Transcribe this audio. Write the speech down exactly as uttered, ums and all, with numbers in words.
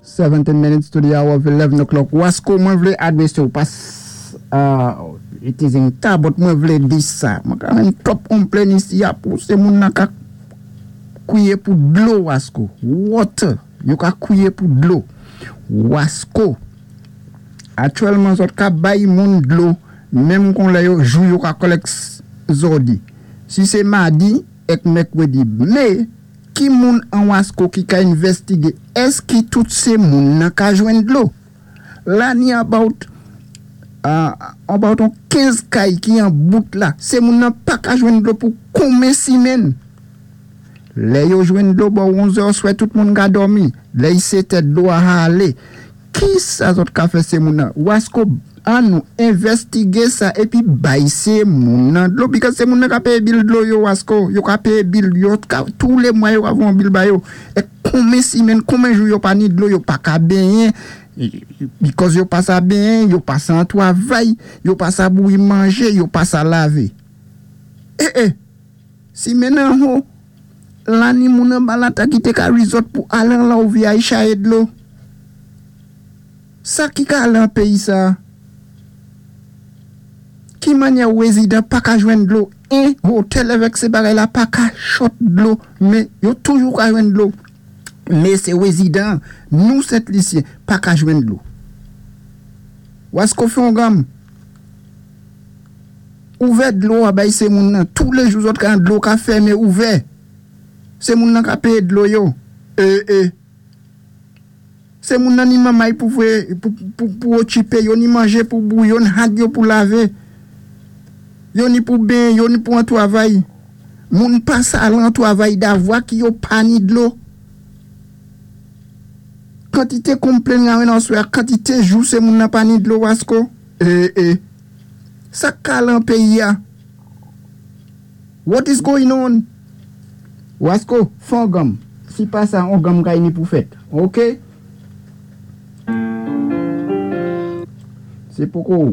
Seventeen minutes to the hour of eleven o'clock. Wasko, mwen vlé adwésé ou pas uh, it is in ta, but mwen vlé di sa. Mwen ka menm twòp konplenn isi ya pou sé moun nan ka kwiyé pou dlo, Wasko. Water. Yo ka kwiyé pou dlo. Wasko. Aktyèlman zòt ka bay moun dlo, menm kon lè yo jou yo ka collect zòdi. Si sé madi èk mèkwédi. Mé ki moun an Wasko ki ka envèstigé èski tout sé moun nan ka jwenn dlo? La ni about uh, about on kenz kay ki an bout la. Sé moun nan pa ka jwenn dlo pou konmen simenn. Lè yo jwenn dlo bò onz è swè, tout moun ka dòmi. Lè y setè, dlo a alé. Ki sa zòt ka fè sé moun nan? Wasko, an nou envèstigé sa épi bay sé moun nan dlo. Because sé moun nan ka péyé bill dlo yo, Wasko. Yo ka péyé bill yo, ka, tou lé mwa yo ka voyé bill ba yo. É konmen simenn, konmen jou yo pa ni dlo, yo pa ka benyen. Because yo pa sa benyen, yo pa sa an twavay, yo pa sa bouyi manjé, yo pa sa lavé. Eh eh, simenn an ho, la ni moun an balata ki té ka resort pou al an la ou viyay chaye dlo. Sa ki ka al an péyi sa? Ki mannyè wézidan pa ka jwenn dlo? En hotel avèk sé bagay la pa ka short dlo, mé yo toujou ka jwenn dlo. Mé sé wézidan, nou Sent Lisyen, pa ka jwenn dlo. Wasko, fè yon gam. Ouvè dlo a bay sé moun nan. Tou lé jou zòt ka dlo ka fèmen ouvè. Sé moun nan ka péyé dlo yo. Eh eh. Sé moun nan ni mamay pou fwe, pou, pou, pou ochipé, yo ni manjé pou bouyi, yo ni had yo pou lavé. Yo ni pou benyen, yo ni pou an twavay. Moun pa sa al an twavay davwa ki yo pa ni dlo. Kantité konplenn nga wè nan swè, kantité jou sé moun nan pa ni dlo, Wasko. Eh eh. Sa ka lan péyi ya. What is going on? Wasko, fon gam. Si pa sa, on gam kay ni pou fèt. Ok? Sé poko ou.